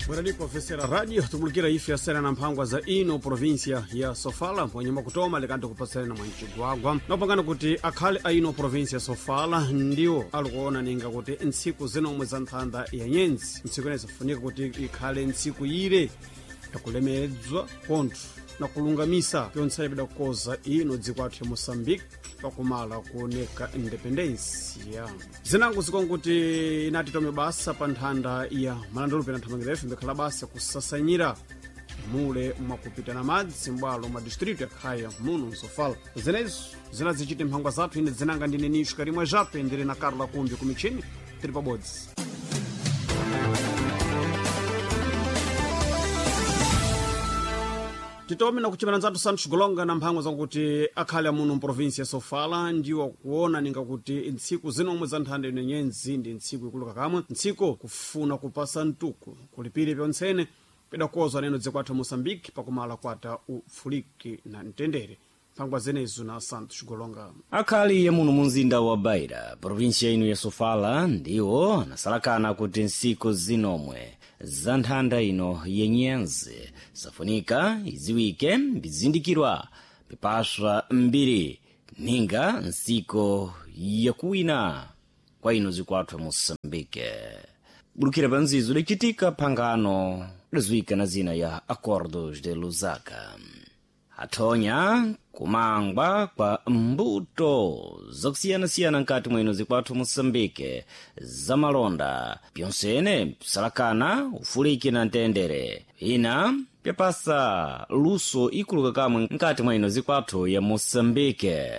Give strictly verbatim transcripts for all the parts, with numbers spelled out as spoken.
Bwerani ofesera radio tumulikira ife yasera na mphangwa za ino província ya Sofala mponyuma kutoma likanti kupasirana mwancigwagwa nopangana kuti akhale a ino província ya Sofala ndiwo alikuona ninga kuti ntsiku zinomwe za nthanda ya nyenzi ntsiku ineyi zifunika kuti ikhale ntsiku ire yakulemedzwa konthu na kulungamisa pyonse pidakukoza ino dziko athu ya Moçambique pakumala kuoneka independensia zinango zikonkuti inati tome basa pa nthanda ya malandolo pena nthamangira ife mbikhala basa kusasanyira mule mwakupitana madzi m'bwalo mwa distrito yakhaya muno msofala zinezo zinazichite mphangwa zathu ine dzinanga ndine nisho karimwe jape ndili na Carla Kumbi kumichini tili pabodzi. Titome na kuchimana nzathu Santos Golonga na mphangwa zakuti akhale amuno mprovinsi ya Sofala ndiwo kuona ninga kuti ntsiku zinomwe za nthanda ino nyenzi ndi ntsiku ikulu kakamwe ntsiku kufuna kupasa mtuku kulipire pyontsene pidakozwa neno dziko athu Moçambique pakumala kwata ufuliki na mtendere. Mphangwa zenezo na Santos Golonga. Akhali yamuno mu mzinda wa Beira, provinsia ino ya Sofala, ndiwo anasalakana kuti ntsiku zinomwe za nthanda ino yenyenzi safunika iziwike mbizindikirwa pipaswa mbiri ninga ntsiko yakuwina kwa ino zikwathu ya Moçambique. Bulukira pa nzizo lichitika phangano liziwika na zina ya Acordos de Lusaka. Athonya kumangwa kwa mbuto zakusiyanasiyana nkati mwino zikwathu Moçambique zamalonda pyonsene psalakana ufuliki na mtendere ina pyapasa luso ikuluka kamwe nkati mwa ino zikwathu ya Moçambique.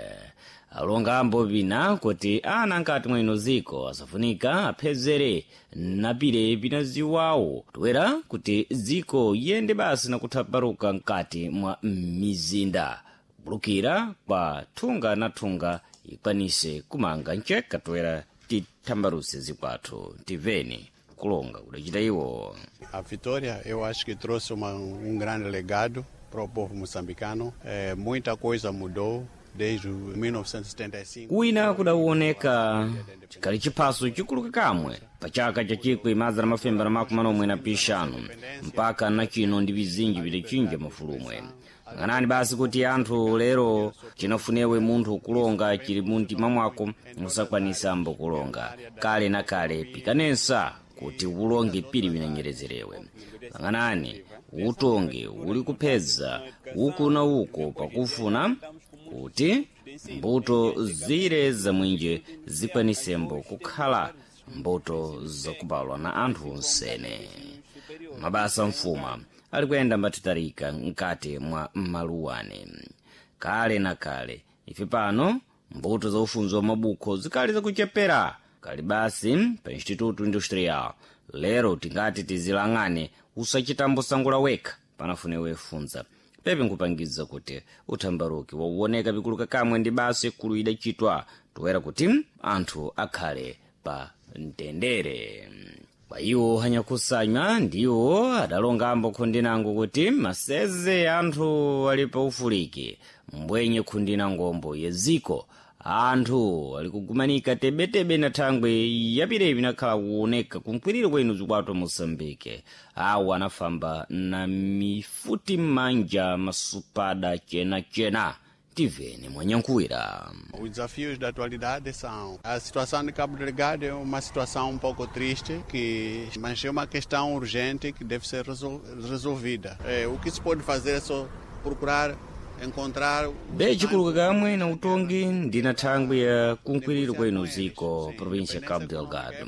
Alonga ambo pina kuti ana nkati mwa ino ziko asafunika aphezere napire pina ziwawo toera kuti dziko yende basi nakuthaparuka nkati mwa mizinda bulukira kwa thunga na thunga ikwanise kumanga nceka toera tithambaruse zikwathu tiveni kulonga kudacita iwo. A vitória, eu acho que trouxe uma, um grande legado para o povo moçambicano. É, muita coisa mudou desde mil novecentos e setenta e cinco. Kuwina kudawoneka chikali chiphaso chikuluka kamwe pa chaka cha chikwi mazana mafembera makumi manomwe na pixanu mpaka na chino ndi vizinji vidachinja mafulumwe. Ng'anani basi kuti anthu lero chinafunewe munthu kulonga chili muntima mwako musakwanisa kulonga kale na kale pikanensa kuti ulonge pili vinanyerezerewe. Lang'anani utonge uli kuphedza uku na uko pakufuna kuti mbuto zire zamwinje zikwanisembo kukhala mbuto zakubalwa na anthu onsene. Mabasa mfuma ali kuyenda mbatitarika mkati mwa maluwane kale na kale. Ife pano mbuto za ufunzi wa mabukho zikali zakuchepera kali basi pa Instituto Industrial lero tingati tizilang'ane usachitambo sangula wekha panafunewe funza pepe nkupangiza kuti uthambaruki wauoneka pikuluka kamwe ndi basa ikulu idachitwa toera kuti anthu akhale pa mtendere. Kwa iwo anyakusanywa ndiwo adalongambo khundinango kuti maseze anthu ali pa ufuliki mbwenye khundina ngombo yeziko anthu ali kugumanika tebetebe na thangwe yapirepi nakhala kuoneka kunkwiriro kwenu zikwatwa Moçambique. Awo anafamba na mifuti m'manja masupada chenachena tivene mwanyankuwira. Os desafios da atualidade são a situação de Cabo Delgado é uma situação um pouco triste, que, mas é uma questão urgente que deve ser resol, resolvida. É, o que se pode fazer é só procurar encontrar. Bechikuluka kamwe na utongi ndina thangwi ya kunkwiriro kwenu ziko província Cabo Delgado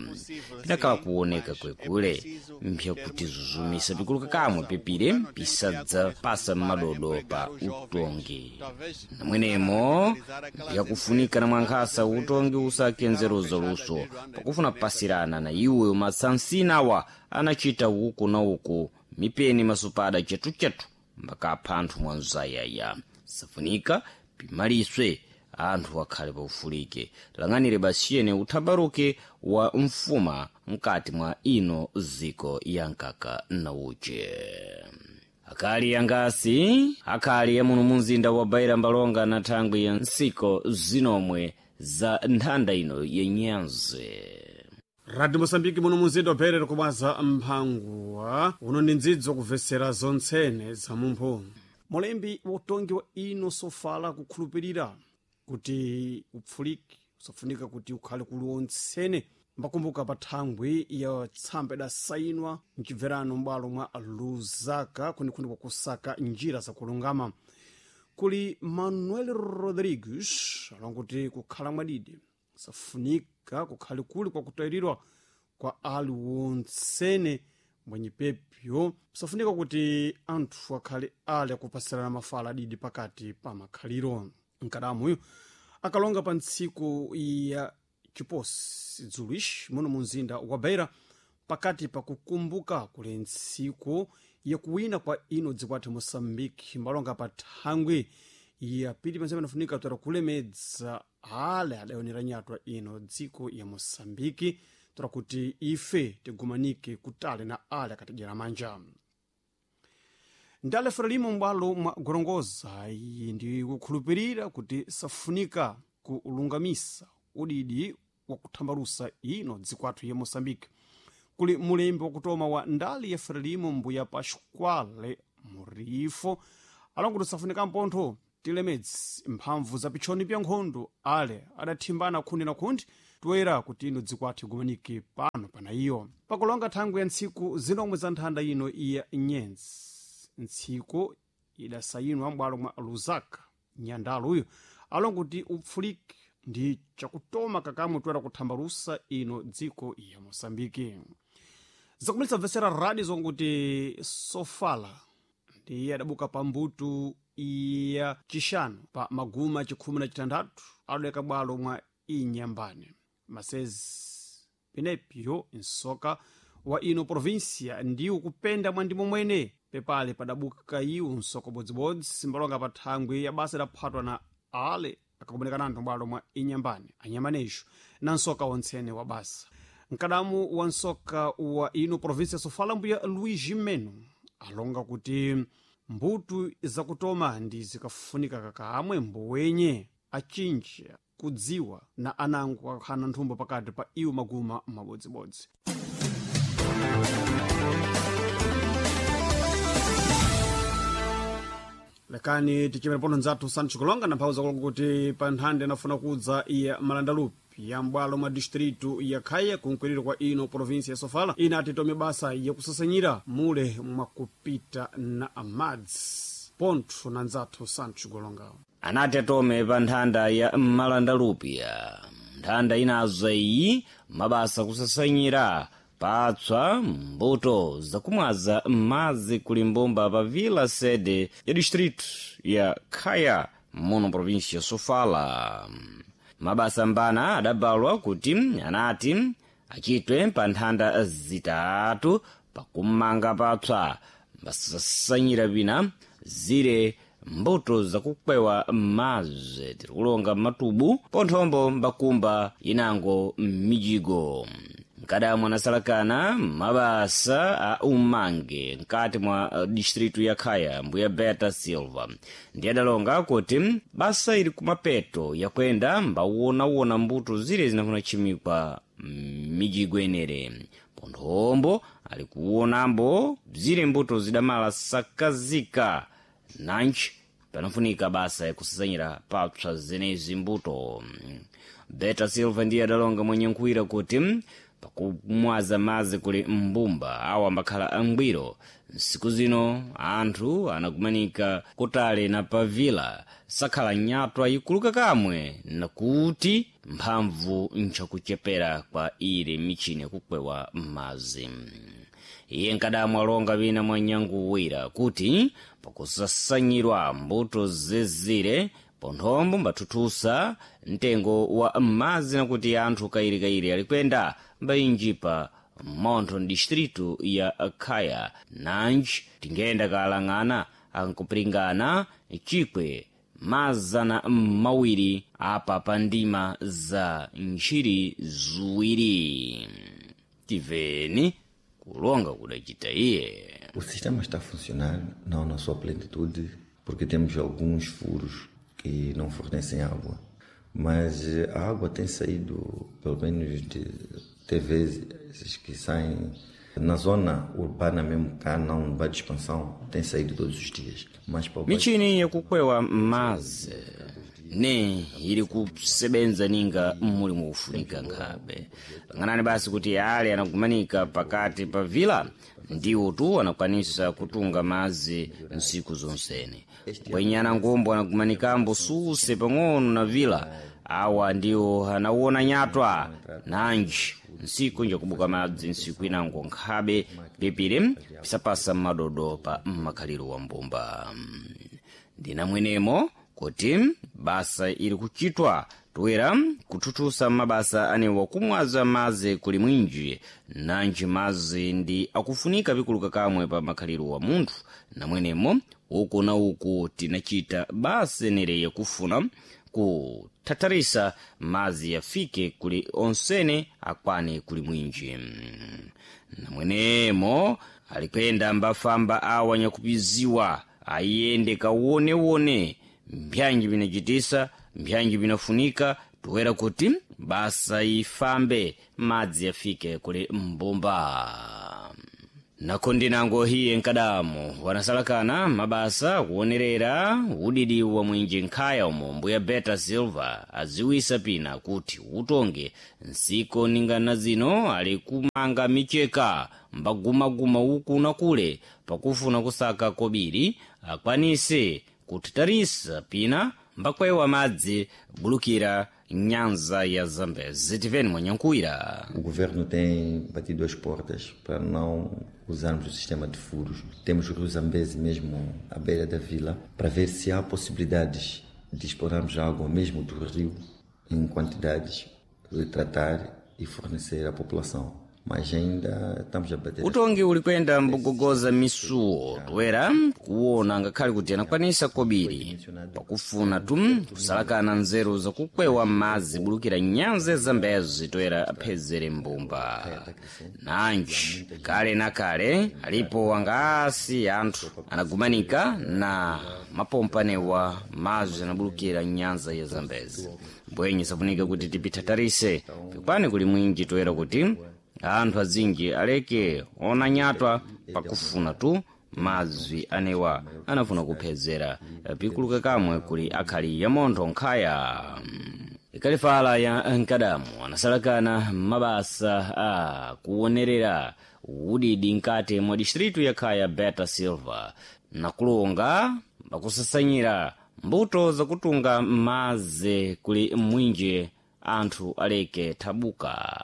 pinakhala kuoneka kwekule mpyakuti zuzumisa pikuluka kamwe pepire pisadzapasa madodo pa utongi namwenemo mpyakufunika na mwankhasa utongi usakenzeruza luso pakufuna pasirana na iwe masansinawa anachita uku na uku mipeni masupada chetuchetu mbakapha anthu mwanzayaya safunika pimaliswe anthu akhale paufulike lang'anire basiyene uthabaruke wa mfuma mkati mwa ino ziko ya nkaka na uche. Akali yangasi akhali yamuno munzinda wa Beira mbalonga na thangwi ya nsiko zinomwe za nthanda ino yenyanzi. Radio Mosambiki muno muzinda wapherere kubwaza mphanguwa uno ndi ndzidzo kubvesera zontsene za mumphu. Mulembi wotongi wa ino sofala kukhulupirira kuti upfuliki usafunika kuti ukhale kuli wontsene mbakumbuka pa thangwi ya tsamba idasayinwa mchibverano m'bwalo mwa Lusaka kunikhuni kwakusaka njira zakulungama. Kuli Manuel Rodrigues alonguti kukhala mwadidi safunika kukhale kuli kwakutayiridwa kwa ali wontsene mwenye pepyo safunika kuti anthu akhale ali akupasirana mafala adidi pakati pa makhaliro. Mkadamuyo akalonga pa ntsiku ya chiposi dzulishi muno mu mzinda wa Beira pakati pa kukumbuka kuli ntsiku yakuwina kwa ino dziko athu Moçambique mbalonga pa thangwi ya pili panse panafunika toera kulemedza ale adayonera nyatwa ino dziko ya Moçambique toera kuti ife tigumanike kutali na ale akatidyera manja. Ndale Frelimo m'bwalo mwa Gorongosa iyi ndi kukhulupirira kuti safunika kulungamisa udidi wakuthambalusa ino dziko athu ya Moçambique. Kuli mulembi wakutoma wa ndali ya Frelimo mbuya Pasquale Murifo alongo safunika mpontho tilemedzi mphamvu za pitchoni pya nkhondo ale adathimbana khundi na khundi toera kuti ino dziko athu igumanike pano pana iyo pakulonga thangwi ya ntsiku zinomwe za nthanda ino iya nyenzi ntsiku idasayinwa m'bwalo mwa Lusaka. Nyandalo uyu alongo kuti upfuliki ndi chakutoma kakamwe toera kuthambalusa ino dziko ya Moçambike. Zakumitsa bvesera radio zonguti Sofala ndiye adabuka pa mbuto ya chixanu pa maguma chikhumi na chitandatu adaleka bwalo mwa Inyambane masezi penepyo nsoka wa ino província ndiwo kupenda mwa ndimo mwene pepale padabuka iwo nsoko bodzibodzi mbalonga pa thangwi ya basa idaphatwa na ale akakuonekana anthu bwalo mwa Inyambane anyambanejo na nsoka wontsene wa basa. Mkadamu wa nsoka wa ino província Sofala mbuya Luigi Meno alonga kuti mbuto zakutoma ndi zikafunika kakamwe mbowenye achinji kudziwa na anango akhana nthumbo pakati pa iwo maguma mabodzibodzi. Lekani tichimere pono nzathu Sancho Kulonga na mphawu zakulonga kuti pa nthanda inafuna kudza iya Malandalupi ya m'bwalo mwa distritu ya Khaya kunkwiriro kwa ino província ya Sofala inati tome basa yakusasanyira mule mwakupita na amadzi pontho na nzathu Sancho Kulonga. Anati atome pa nthanda ya Malandalupiya nthanda inazo iyi mabasa kusasanyira patswa mbuto zakumwaza madzi kuli mbumba pa vila sede ya distrito ya Khaya muno província ya Sofala. Mabasa mbana adabalwa kuti anati achitwe pa nthanda zitatu pakumanga patswa mbasasanyira pina zire mbuto zakukwewa madzi tirikulonga matubu ponthombo mbakumba inango mijigo. Mkadamu anasalakana mabasa a umange mkati mwa distritu ya Khaya mbuya Beta Silva ndiye adalonga kuti basa ili kumapeto yakwenda mbawonawona mbuto zire zinafuna chimikwa mijigo enere ponthombo ali kuwonambo zire mbuto zidamala sakazika nanji panafunika basa yakusasanyira papsa zenezi mbuto. Beta Silva ndiye adalonga mwenye nkhwira kuti pakumwaza madzi kuli mbumba awo ambakhala angwiro nsiku zino anthu anakumanika kutali na pavila sakhala nyatwa ikuluka kamwe nakuti mphamvu nchakuchepera kwa ili michini yakukwewa madzi. Iye nkadamu alonga wina mwa nyanguwira kuti pakusasanyirwa mbuto zezire ponthombo mbathuthusa mtengo wa madzi nakuti anthu kairikairi alikwenda mbayinjipa montho distritu ya Khaya nanji tingenda kalang'ana ankupiringana chikwe mazana mawiri apa pa ndima za ntchiri ziwiri. Tiveni kulonga kudacita iye. O sistema está a funcionar, não na sua plenitude, porque temos alguns furos que não fornecem água. Mas a água tem saído pelo menos de Tem vezes que saem na zona urbana mesmo, cá não vai de expansão, tem saído todos os dias. Mas para o Michini yakukwewa mazi ne ili kusebenza ninga mulimu ufunika nkhabe pang'anani basi kuti ale anagumanika pakati pa vila ndiwo tu anakwanisa kutunga mazi nsiku zonsene kwenye anangombo anagumanikambo suse pang'ono na vila awa ndiwo anawona nyatwa nanji nsiku njakubuka madzi nsiku inango nkhabe pipiri pisapasa madodo pa mmakhaliro wa mbumba ndinamwenemo kuti basa ili kuchitwa toera kuthuthusa mabasa anewa kumwaza mazi kuli mwinji nanji mazi ndi akufunika pikuluka kamwe pa makhaliro wa munthu namwenemo uku na uku tinachita basa nere yakufuna kuthatharisa mazi yafike kuli onsene akwane kuli mwinji namwenemo alikwenda mbafamba awa nyakupiziwa ayende kawonewone mbyanji vinacitisa mbyanji vinafunika toera kuti basa ifambe madzi yafike kuli mbumba nako ndinango hiye nkadamo wanasalakana mabasa kuonerera udidi wa mwinji nkhaya umo mbuya Beta Silva aziwisa pina kuti utonge nsiko ningana zino ali kumanga micheka mbagumaguma uku na kule pakufuna kusaka kobiri akwanise kuthatarisa pina mbakwewa madzi bulukira nyanza ya Zambezi. Tiveni mwanyankuwira. O governo tem batido as portas para não usarmos o sistema de furos. Temos o rio Zambeze mesmo à beira da vila para ver se há possibilidades de explorarmos água mesmo do rio em quantidades, de tratar e fornecer à população. Mas ainda estamos a bater. Utongi ulikwenda mbugogoza misuwo toera kuwona ngakhale kuti anakwanisa kobiri pakufuna tu kusalakana nzeru zakukwewa madzi bulukira nyanza ya Zambezi toera aphezere mbumba nanji kale na kale alipo wangaasi anthu anagumanika na mapompanewa madzi anabulukira nyanza ya Zambezi mbwenye safunika kuti tipithatarise pikwane kuli mwinji toera kuti anthu azinji aleke ona nyatwa pakufuna tu mazwi anewa anafuna kuphezera pikuluka kamwe kuli akhali ya montho nkhaya ikalifala ya nkadamu anasalakana mabasa a kuonerera udidi nkati mwa distritu ya khaya Beta Silva nakulonga pakusasanyira mbuto zakutunga mazi kuli mwinji anthu aleke thabuka.